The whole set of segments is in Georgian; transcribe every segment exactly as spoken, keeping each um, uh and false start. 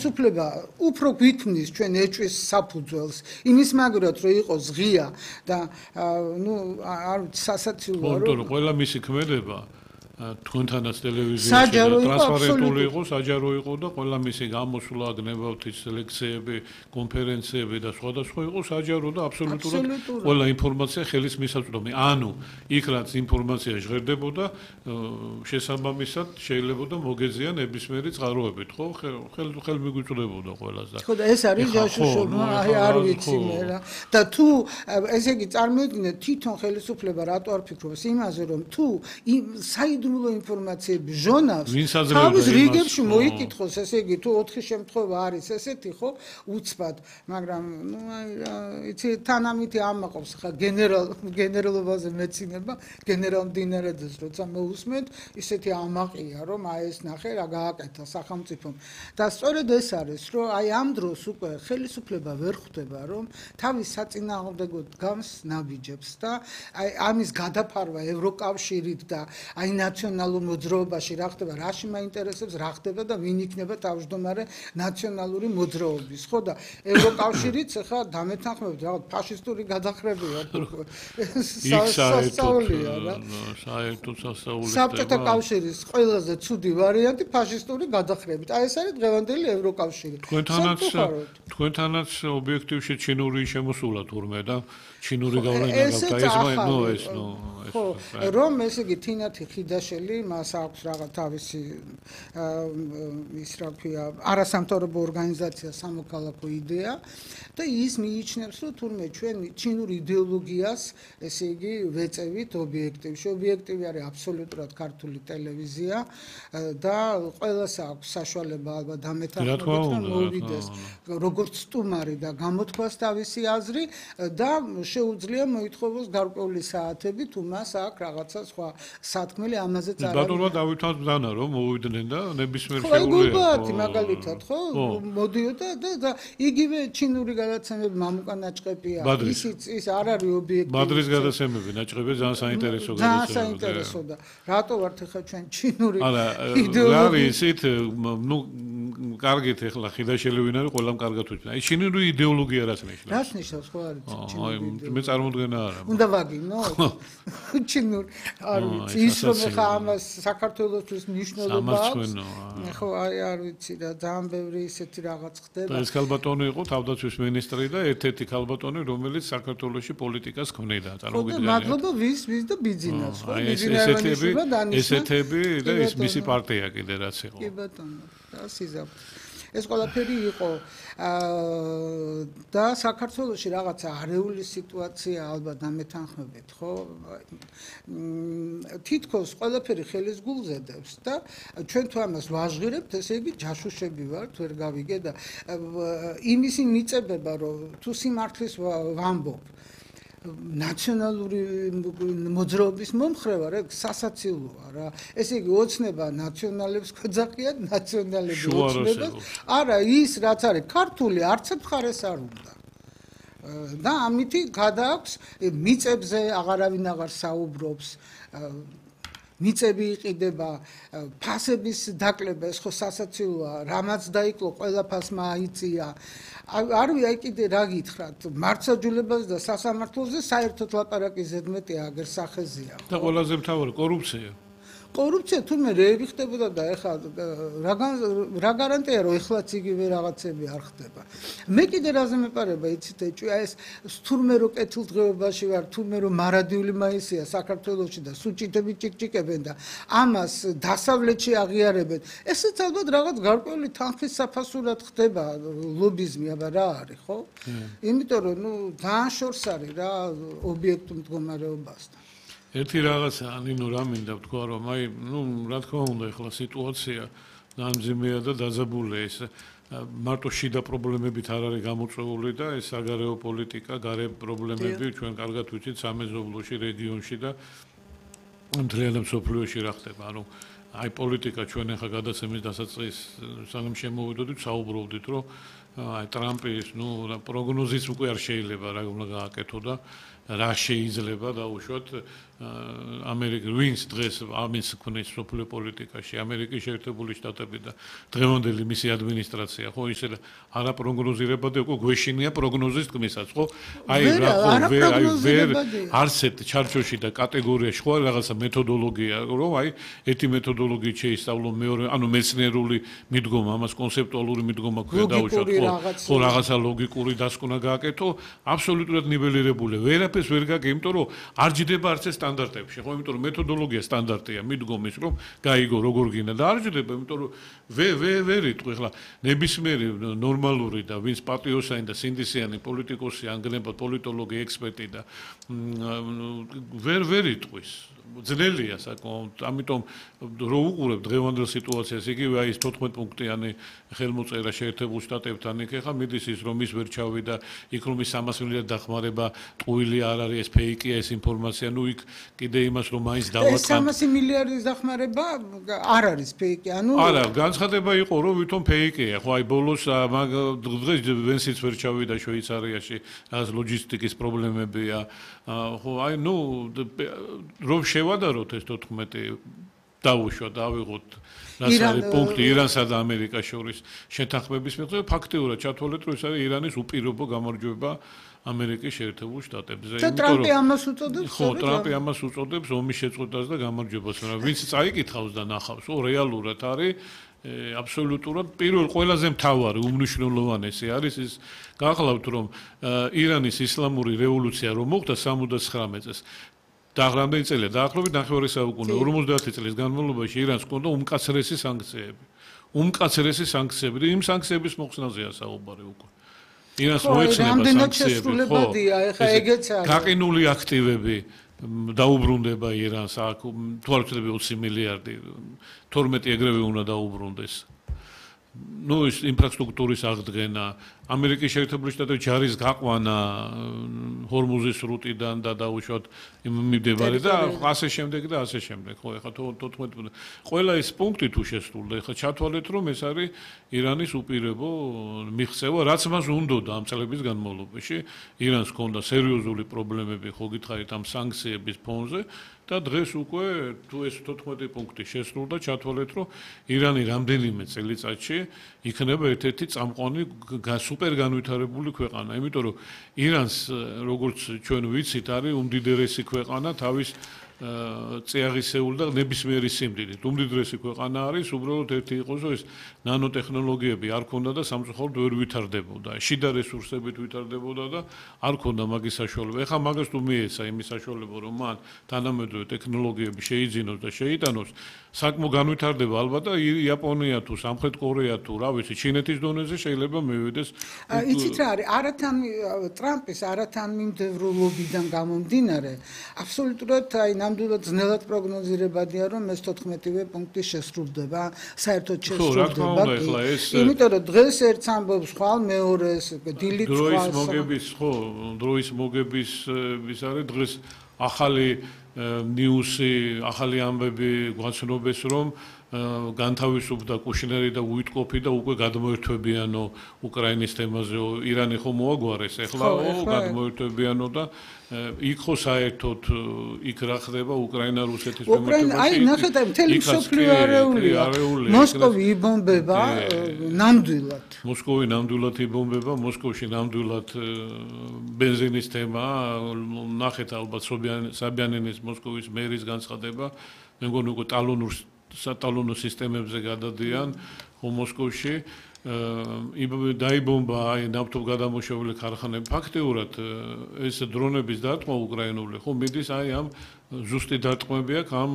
ხელისუფლება უფრო გვიქმნის ჩვენ ეჭვის საფუძველს იმის მაგრად რომ იყოს ღია და ნუ არ ვიცი სასაცილოა რომ ყველა მისი ქმედება თქვენთანაც ტელევიზიაში ტრანსპარენტული იყო, საჯარო იყო და ყველა მისი გამოსვლა, გნებავთის ლექციები, კონფერენციები და სხვადასხვა იყო საჯარო და აბსოლუტურად ყველა ინფორმაცია ხელის მისაწვდომი. ანუ იქ რაც ინფორმაცია ჟღერდებოდა, შესაბამისად შეიძლება მოგეზიან ნებისმიერი წყაროებით, ხო? ხელ ხელ მიგვიწვდებოდა ყველას და ხო და ეს არის ჯაშუშობა, აი არ ვიცი მე რა. და თუ ესე იგი წარმოიდგინეთ თვითონ ხელისუფლება რატო არ ფიქრობს იმაზე რომ თუ საიდუმლო ინფორმაციები ჟონავს თავის რიგებში მოიკითხოს ესე იგი თუ ოთხი შემთხვევა არის ესეთი ხო უცბად მაგრამ ნუ აი იცი თანამითი ამაყობს ხა გენერალ გენერალობაზე მეცინება გენერალ მდინარეძეს როცა მოусმენთ ისეთი ამაყია რომ აი ეს ნახე რა გააკეთა სახელმწიფომ და სწორედ ეს არის რომ აი ამ დროს უკვე ხელისუფლება ვერ ხვდება რომ თავის საწინააღმდეგოდ გავს ნაბიჯებს და აი ამის გადაფარვა ევროკავშირით და აი ნაციონალურ მოძრაობაში რა ხდება, რაში მაინტერესებს რა ხდება და ვინ იქნება თავმჯდომარე ნაციონალური მოძრაობის, ხო და ევროკავშირიც ხა დამეთანხმებით რაღაც ფაშისტური გადახრებია. სასწაულია რა. საერთოდ სასწაულია. საბჭოთა კავშირის ყველაზე ცუდი ვარიანტი ფაშისტური გადახრებით. აი ეს არის დღევანდელი ევროკავშირი. თქვენთანაც თქვენთანაც ობიექტივში ჩინური შემოსულა თურმე და ჩინური გავლენა გაქვს და ეს ნუ ეს ნუ ხო რომ ესე იგი თინათი ხიდაშელი მას აქვს რაღაც თავისი ის რა ქვია არასამთავრობო ორგანიზაცია სამოქალაქო იდეა და ის მიიჩნევს რომ თურმე ჩვენ ჩინურ იდეოლოგიას ესე იგი ვეწევით ობიექტივში ობიექტივი არის აბსოლუტურად ქართული ტელევიზია და ყველას აქვს საშუალება ალბათ დამეთანხმებით რომ მოვიდეს როგორც სტუმარი და გამოთქვას თავისი აზრი და შეუძლია მოითხოვოს გარკვეული საათები თუ მას აქვს რაღაცა სხვა სათქმელი ამაზეც არის. ბატონმა დავითვას ბრძანა რომ მოვიდნენ და ნებისმიერ შეუძლია. ხო, მაგალითად, ხო, მოდიოდა და იგივე ჩინური გადაცემები მამუკა ნაჭყებია. ისიც ის არ არის ობიექტივი. მადრის გადაცემები ნაჭყებია ძალიან საინტერესო გადაცემა. ძალიან საინტერესო და რატო ვართ ახლა ჩვენ ჩინური იდეოლოგია? არა, ისეთ ნუ კარგით ახლა ხიდაშელი ვინ არის ყველამ კარგად უჩვენა. აი ჩინური იდეოლოგია რას ნიშნავს? რას ნიშნავს ხო არის ჩინური იდეოლოგია? მე წარმოდგენა არა. უნდა ვაგინო? ჩინური არ ვიცი ის რომ ხა ამას საქართველოსთვის მნიშვნელობა აქვს. ხო აი არ ვიცი და ძალიან ბევრი ისეთი რაღაც ხდება. ეს ქალბატონი იყო თავდაცვის მინისტრი და ერთ-ერთი ქალბატონი რომელიც საქართველოში პოლიტიკას ქმნიდა. წარმოგიდგენთ. მადლობა ვის ვის და ბიძინას ხო? ესეთები ესეთები და ის მისი პარტია კიდე რაც იყო. კი ბატონო. და სიზავ ეს ყველაფერი იყო და საქართველოში რაღაცა არეული სიტუაცია ალბათ დამეთანხმებით ხო თითქოს ყველაფერი ხელის გულზე დევს და ჩვენ თუ ამას ვაჟღირებთ ესე იგი ჯაშუშები ვართ ვერ გავიგე და იმისი მიწებება რომ თუ სიმართლის ვამბობ ნაციონალური მოძრაობის მომხრე ვარ, ეგ სასაცილოა რა. ესე იგი ოცნება ნაციონალებს გვეძახიან, ნაციონალები ოცნებას. არა, ის რაც არის ქართული არც მხარეს არ უნდა. და ამითი გადააქვს მიწებზე აღარავინ აღარ საუბრობს. მიწები იყიდება, ფასების დაკლება, ეს ხო სასაცილოა, რამაც დაიკლო, ყველა ფასმა აიწია. არ ვიცი, აი კიდე რა გითხრათ, მართლმსაჯულებას და სასამართლოზე საერთოდ ლაპარაკი ზედმეტი აგერ სახეზეა. და ყველაზე მთავარი კორუფცია. კორუფცია თუმე რეები ხდებოდა და ეხლა რა გარანტია რომ ეხლაც იგივე რაღაცები არ ხდება. მე კიდე რაზე მეპარება იცით ეჭვი ეს თურმე რო კეთილდღეობაში ვარ თურმე რო მარადიული მაისია საქართველოში და სუჭიდები ჭიკჭიკებენ და ამას დასავლეთში აღიარებენ ესეც ალბათ რაღაც გარკვეული თანხის საფასურად ხდება ლობიზმი აბა რა არის ხო? იმიტომ რომ ნუ ძალიან შორს არის რა ობიექტურ მდგომარეობასთან. ერთი რაღაცა ნინო რა მინდა ვთქვა რომ აი ნუ რა თქმა უნდა ახლა სიტუაცია დამძიმეა და დაძაბულია ეს მარტო შიდა პრობლემებით არ არის გამოწვეული და ეს საგარეო პოლიტიკა, გარე პრობლემები ჩვენ კარგად ვიცით სამეზობლოში, რეგიონში და მთლიანად მსოფლიოში რა ხდება. ანუ აი პოლიტიკა ჩვენ ახლა გადაცემის დასაწყის სანამ შემოვიდოდით საუბრობდით რომ აი ტრამპის, ნუ პროგნოზის უკვე არ შეიძლება რა უნდა გააკეთო და რა შეიძლება დაუშვათ ამერიკის ვინს დღეს ამის ქნის სოფლიო პოლიტიკაში ამერიკის შეერთებული შტატები და დღევანდელი მისი ადმინისტრაცია ხო ისე არა პროგნოზირებადი უკვე გვეშინია პროგნოზის თქმისაც ხო აი რა ხო ვერ აი ვერ არსეთ ჩარჩოში და კატეგორიაში ხო რაღაცა მეთოდოლოგია რომ აი ერთი მეთოდოლოგიით შეისწავლო მეორე ანუ მეცნიერული მიდგომა ამას კონცეპტუალური მიდგომა ქვია დაუშვათ ხო ხო რაღაცა ლოგიკური დასკვნა გააკეთო აბსოლუტურად ნიველირებული ვერაფერს ვერ გაგე იმიტომ რომ არ ჯდება არც ეს სტანდარტებში ხო იმიტომ რომ მეთოდოლოგია სტანდარტია მიდგომის რომ გაიგო როგორ გინდა და არ ჯდება იმიტომ რომ ვე ვე ვერ იტყვი ხლა ნებისმიერი ნორმალური და ვინც პატრიოტიანი და სინდისიანი პოლიტიკოსი ან გნებად პოლიტოლოგი ექსპერტი და ვერ ვერ იტყვის ძნელია საკმაოდ ამიტომ რო უყურებ დღევანდელ სიტუაციას იგივე აი ეს თოთხმეტ პუნქტიანი ხელმოწერა შეერთებულ შტატებთან იქ ხა მიდის ის რომ ის ვერ ჩავიდა იქ რომ ის სამას მილიარდ დახმარება ტყუილი არ არის ეს ფეიკია ეს ინფორმაცია ნუ იქ კიდე იმას რომ მაინც დავატყან სამას მილიარდის დახმარება არ არის ფეიკი ანუ არა განცხადება იყო რომ ვითომ ფეიკია ხო აი ბოლოს მაგ დღეს ვენსიც ვერ ჩავიდა შვეიცარიაში რაღაც ლოჯისტიკის პრობლემებია ხო აი ნუ რომ შევადაროთ ეს თოთხმეტი დავუშვათ ავიღოთ რაც არის პუნქტი ირანსა და ამერიკას შორის შეთანხმების მიხედვით ფაქტიურად ჩათვალეთ რომ ეს არის ირანის უპირობო გამარჯვება ამერიკის შეერთებულ შტატებზე და ტრამპი ამას უწოდებს ხო ტრამპი ამას უწოდებს ომის შეწყვეტას და გამარჯვებას მაგრამ ვინც წაიკითხავს და ნახავს ო რეალურად არის აბსოლუტურად პირველ ყველაზე მთავარი უმნიშვნელოვანესი არის ის გახლავთ რომ ირანის ისლამური რევოლუცია რომ მოხდა სამოცდათხრამეტ წელს და რამდენი წელია დაახლოებით ნახევარი საუკუნე ორმოცდაათი წლის განმავლობაში ირანს ჰქონდა უმკაცრესი სანქციები უმკაცრესი სანქციები და იმ სანქციების მოხსნაზეა საუბარი უკვე ირანს მოეცნება სანქციები ხო ეხა ეგეც არის გაყინული აქტივები დაუბრუნდება ირანს აქ თუ არ ვწდები ოცი მილიარდი თორმეტი ეგრევე უნდა დაუბრუნდეს ნუ ის ინფრასტრუქტურის აღდგენა ამერიკის შეერთებული შტატების ჯარის გაყვანა ჰორმუზის რუტიდან და დაუშვათ მიმდებარე და ასე შემდეგ და ასე შემდეგ ხო ეხლა თოთხმეტ ყველა ეს პუნქტი თუ შესრულდა ეხლა ჩათვალეთ რომ ეს არის ირანის უპირობო მიღწევა რაც მას უნდოდა ამ წლების განმავლობაში ირანს ჰქონდა სერიოზული პრობლემები ხო გითხარით ამ სანქციების ფონზე და დღეს უკვე თუ ეს თოთხმეტი პუნქტი შესრულდა ჩათვალეთ რომ ირანი რამდენიმე წელიწადში იქნება ერთ-ერთი წამყვანი სუპერ განვითარებული ქვეყანა იმიტომ რომ ირანს როგორც ჩვენ ვიცით არის უმდიდრესი ქვეყანა თავის წეაღისეულ და ნებისმიერი სიმდიდრით უმდიდრესი ქვეყანა არის უბრალოდ ერთი იყოს რომ ეს ნანოტექნოლოგიები არ ქონდა და სამწუხაროდ ვერ ვითარდებოდა შიდა რესურსებით ვითარდებოდა და არ ქონდა მაგის საშუალება ეხლა მაგას თუ მიეცა იმის საშუალება რომ მან თანამედროვე ტექნოლოგიები შეიძინოს და შეიტანოს საკმაოდ განვითარდება ალბათ და იაპონია თუ სამხრეთ კორეა თუ რა ვიცი ჩინეთის დონეზე შეიძლება მივიდეს იცით რა არის არათან ტრამპის არათან მიმდევრულობიდან გამომდინარე აბსოლუტურად აი ნამდვილად ძნელად პროგნოზირებადია რომ ეს თოთხმეტივე პუნქტი შესრულდება საერთოდ შესრულდება იმიტომ რომ დღეს ერთს ამბობს ხვალ მეორეს დილით ხვალ დროის მოგების ხო დროის მოგების ის არის დღეს ახალი ნიუსი ახალი ამბები გვაცნობეს რომ განთავისუფლდა კუშნერი და უიტკოფი და უკვე გადმოერთვებიანო უკრაინის თემაზე ირანი ხო მოაგვარეს ეხლა გადმოერთვებიანო და იქ ხო საერთოდ იქ რა ხდება უკრაინა რუსეთის მემკვიდრეობაში აი ნახეთ აი მთელი მსოფლიო არეულია მოსკოვი იბომბება ნამდვილად მოსკოვი ნამდვილად იბომბება მოსკოვში ნამდვილად ბენზინის თემა ნახეთ ალბათ საბიანინის მოსკოვის მერის განცხადება მე მგონი უკვე ტალონურ სატალონო სისტემებზე გადადიან ხო მოსკოვში დაიბომბა აი ნავთობ გადამუშავებული ქარხანები ფაქტიურად ეს დრონების დარტყმა უკრაინული ხო მიდის აი ამ ზუსტი დარტყმები აქვს ამ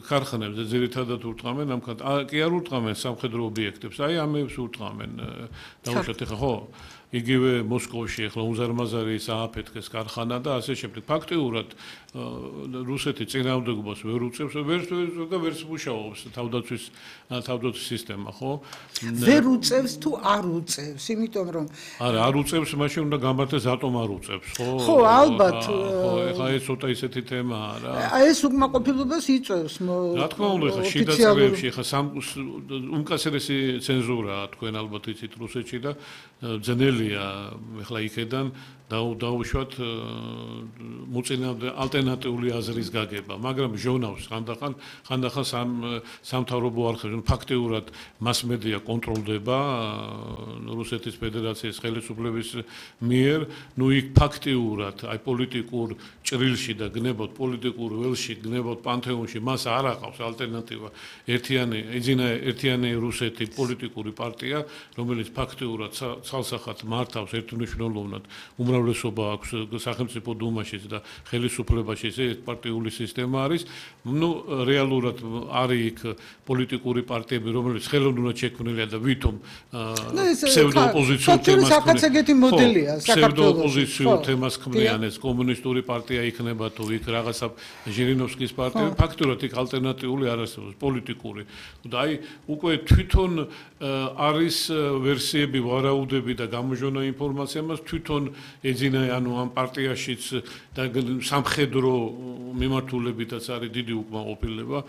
ქარხანებზე ძირითადად ურტყამენ ამ კი არ ურტყამენ სამხედრო ობიექტებს აი ამებს ურტყამენ დაუშვათ ახლა ხო იგივე მოსკოვში ახლა უზარმაზარი სააფეთქეს ქარხანა და ასე შემდეგ ფაქტიურად რუსეთი წინააღმდეგობას ვერ უწევს ვერ და ვერც მუშაობს თავდაცვის თავდაცვის სისტემა ხო ვერ უწევს თუ არ უწევს იმიტომ რომ არა არ უწევს მაშინ უნდა გამართეს ატომ არ უწევს ხო ხო ალბათ ხო ეხლა ეს ცოტა ისეთი თემაა რა. აი ეს უკმაყოფილებას იწევს. რა თქმა უნდა, ხა შიდა წრეებში ხა სამ უმკაცრესი ცენზურაა თქვენ ალბათ იცით რუსეთში და ძნელია ეხლა იქედან დაუშვათ მოწინავე ალტერნატიული აზრის გაგება, მაგრამ ჟურნალს ხანდახან ხანდახან სამ სამთავრობო არხებში ფაქტიურად მასმედია კონტროლდება რუსეთის ფედერაციის ხელისუფლების მიერ, ნუ იქ ფაქტიურად აი პოლიტიკურ ჭრილში და გნებოთ პოლიტიკურ ველში გნებოთ პანთეონში მას არ აყავს ალტერნატივა ერთიანი ეძინა ერთიანი რუსეთი პოლიტიკური პარტია, რომელიც ფაქტიურად ცალსახად მართავს ერთმნიშვნელოვნად უმრავლესობა აქვს სახელმწიფო დუმაშიც და ხელისუფლებაში ეს პარტიული სისტემა არის. ნუ რეალურად არის იქ პოლიტიკური პარტიები, რომელიც ხელოვნურად შექმნილია და ვითომ ფსევდოოპოზიციურ თემას საკაცეგეთი მოდელია საქართველოს. ფსევდოოპოზიციურ თემას ქმნიან ეს კომუნისტური პარტია იქნება თუ იქ რაღაცა ჟირინოვსკის პარტია, ფაქტურად იქ ალტერნატიული არ არსებობს პოლიტიკური. და აი უკვე თვითონ არის ვერსიები, ვარაუდები და გამოჟონა ინფორმაცია მას თვითონ ეძინა ანუ ამ პარტიაშიც და სამხედრო მიმართულებითაც არის დიდი უკმაყოფილება.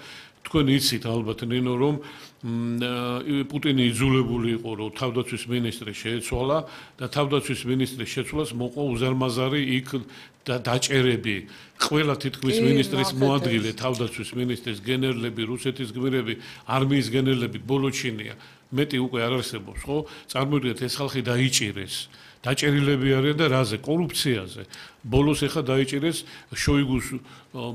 თქვენ იცით ალბათ ნინო რომ პუტინი იძულებული იყო რომ თავდაცვის მინისტრი შეეცვალა და თავდაცვის მინისტრის შეცვლას მოყვა უზარმაზარი იქ დაჭერები ყველა თითქმის მინისტრის მოადგილე თავდაცვის მინისტრის გენერლები რუსეთის გმირები არმიის გენერლები ბოლოჩინია მეტი უკვე არ არსებობს ხო წარმოიდგინეთ ეს ხალხი დაიჭირეს დაჭერილები არიან და რაზე კორუფციაზე ბოლოს ეხა დაიჭირეს შოიგუს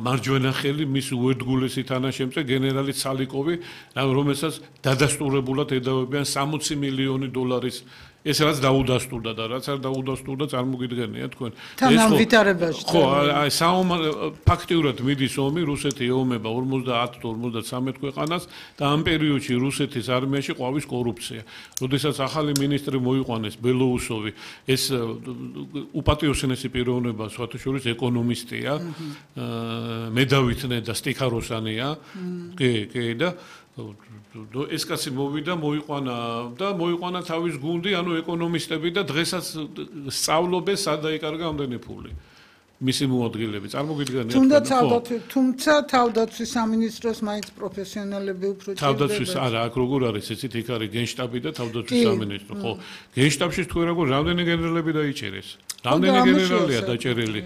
მარჯვენა ხელი მის უერთგულესი თანაშემწე გენერალი ცალიკოვი რომელსაც დადასტურებულად ედავებიან სამოცი მილიონი დოლარის ეს რაც დაუდასტურდა და რაც არ დაუდასტურდა წარმოგიდგენია თქვენ ეს ვითარებაში ხო აი საომარ ფაქტიურად მიდის ომი რუსეთი ეომება ორმოცდაათ თუ ორმოცდათვრამეტ ქვეყანას და ამ პერიოდში რუსეთის არმიაში ყვავის კორუფცია როდესაც ახალი მინისტრი მოიყვანეს ბელოუსოვი ეს უპატიოსნესი პიროვნება სხვათა შორის ეკონომისტია მედავითნე და სტიქაროსანია კი კი და ეს კაცი მოვიდა მოიყვანა და მოიყვანა თავის გუნდი ანუ ეკონომისტები და დღესაც სწავლობენ სად დაიკარგა ამდენი ფული მისი მოადგილეები წარმოგიდგენიათ თუნდაც თავდაცვის თუმცა თავდაცვის სამინისტროს მაინც პროფესიონალები უფრო ჭირდება თავდაცვის არა აქ როგორ არის იცით იქ არის გენშტაბი და თავდაცვის სამინისტრო ხო გენშტაბში თქვენ როგორ რამდენი გენერლები დაიჭერეს რამდენი გენერალია დაჭერილი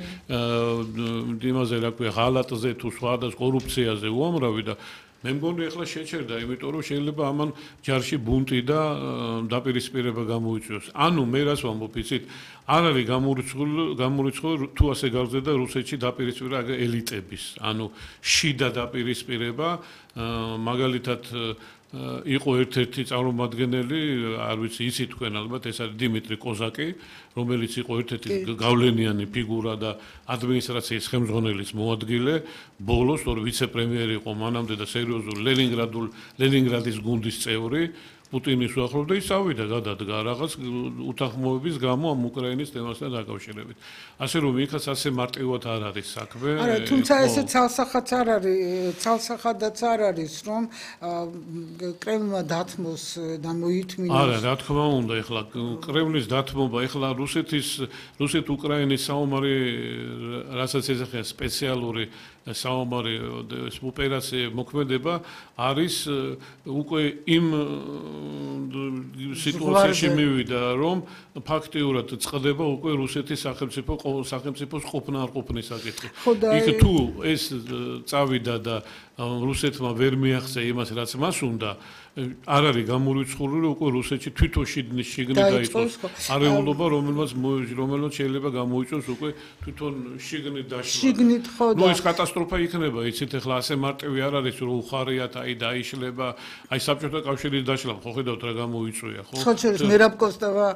იმაზე რა ქვია ღალატზე თუ სხვა და კორუფციაზე უამრავი და მე მგონი ახლა შეჩერდა, იმიტომ რომ შეიძლება ამან ჯარში ბუნტი და დაპირისპირება გამოიწვიოს. ანუ მე რას ვამბობ, იცით, არ არის გამორიცხული, გამორიცხული თუ ასე გავზრდა რუსეთში დაპირისპირება ელიტების. ანუ შიდა დაპირისპირება, მაგალითად იყო ერთ-ერთი წარმომადგენელი, არ ვიცი, იცით თქვენ ალბათ, ეს არის დიმიტრი კოზაკი, რომელიც იყო ერთ-ერთი გავლენიანი ფიგურა და ადმინისტრაციის ხელმძღვანელის მოადგილე, ბოლოს ორ ვიცე-პრემიერი იყო მანამდე და სერიოზულ ლენინგრადულ ლენინგრადის გუნდის წევრი, პუტინის უახლოვდა ის წავიდა გადადგა რაღაც უთანხმოების გამო ამ უკრაინის თემასთან დაკავშირებით. ასე რომ იქაც ასე მარტივად არ არის საქმე. არა, თუმცა ესე ცალსახადაც არ არის, ცალსახადაც არ არის, რომ კრემლმა დათმოს და მოითმინოს. არა, რა თქმა უნდა, ეხლა კრემლის დათმობა, ეხლა რუსეთის რუსეთ-უკრაინის საომარი რასაც ეძახიან სპეციალური საომარი ოპერაცია მოქმედება არის უკვე იმ სიტუაციაში მივიდა რომ ფაქტიურად წყდება უკვე რუსეთის სახელმწიფო სახელმწიფოს ყოფნა არ ყოფნის საკითხი. იქ თუ ეს წავიდა და რუსეთმა ვერ მიაღწია ημას რაც მას უნდა არ არის გამორიცხული რომ უკვე რუსეთში თვითონ შიგნით შიგნით დაიწყოს არეულობა რომელმაც რომელმაც შეიძლება გამოიწვიოს უკვე თვითონ შიგნით დაშლა. შიგნით ხო და ნუ ეს კატასტროფა იქნება იცით ახლა ასე მარტივი არ არის რომ უხარიათ აი დაიშლება აი საბჭოთა კავშირის დაშლა ხო ხედავთ რა გამოიწვია ხო ხო შეიძლება მერაბ კოსტავა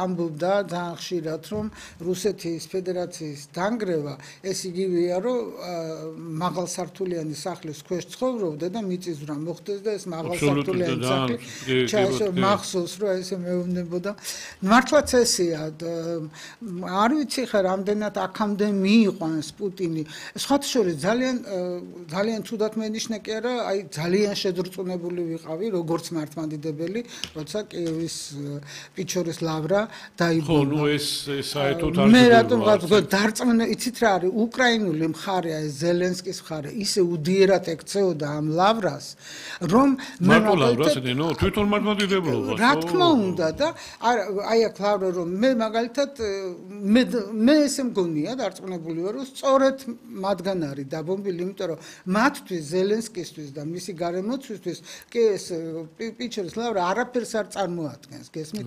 ამბობდა ძალიან ხშირად რომ რუსეთის ფედერაციის დანგრევა ეს იგივეა რომ მაღალსართულიანი სახლის ქვეშ ცხოვრობდა და მიწისძვრა მოხდეს და ეს მაღალსართულიანი ჩაისო მახსოვს რომ ესე მეუბნებოდა მართლაც ესეა არ ვიცი ხა რამდენად აქამდე მიიყვანს პუტინი სხვათა შორის ძალიან ძალიან თუდად მენიშნა კი არა, აი ძალიან შედრწმუნებული ვიყავი, როგორც მართლმადიდებელი, როცა კიევის პიჩორის ლავრა დაიბონა. ხო, ნუ ეს საერთოდ არ მე რატომ ვთქვა, დარწმუნებული, იცით რა არის, უკრაინული მხარეა, ზელენსკის მხარე, ისე უდიერად ექცეოდა ამ ლავრას, რომ მე მაგალითად ნო, თვითონ მართლმადიდებლობას. რა თქმა უნდა და აი აქ ლავრა რომ მე მაგალითად მე მე ესე მგონია დარწმუნებული ვარ, რომ სწორედ მათგან არის დაბომბილი, იმიტომ რომ მათთვის ზელენსკისთვის და მისი გარემოცვისთვის კი ეს პიჩერის ლავრა არაფერს არ წარმოადგენს, გესმით?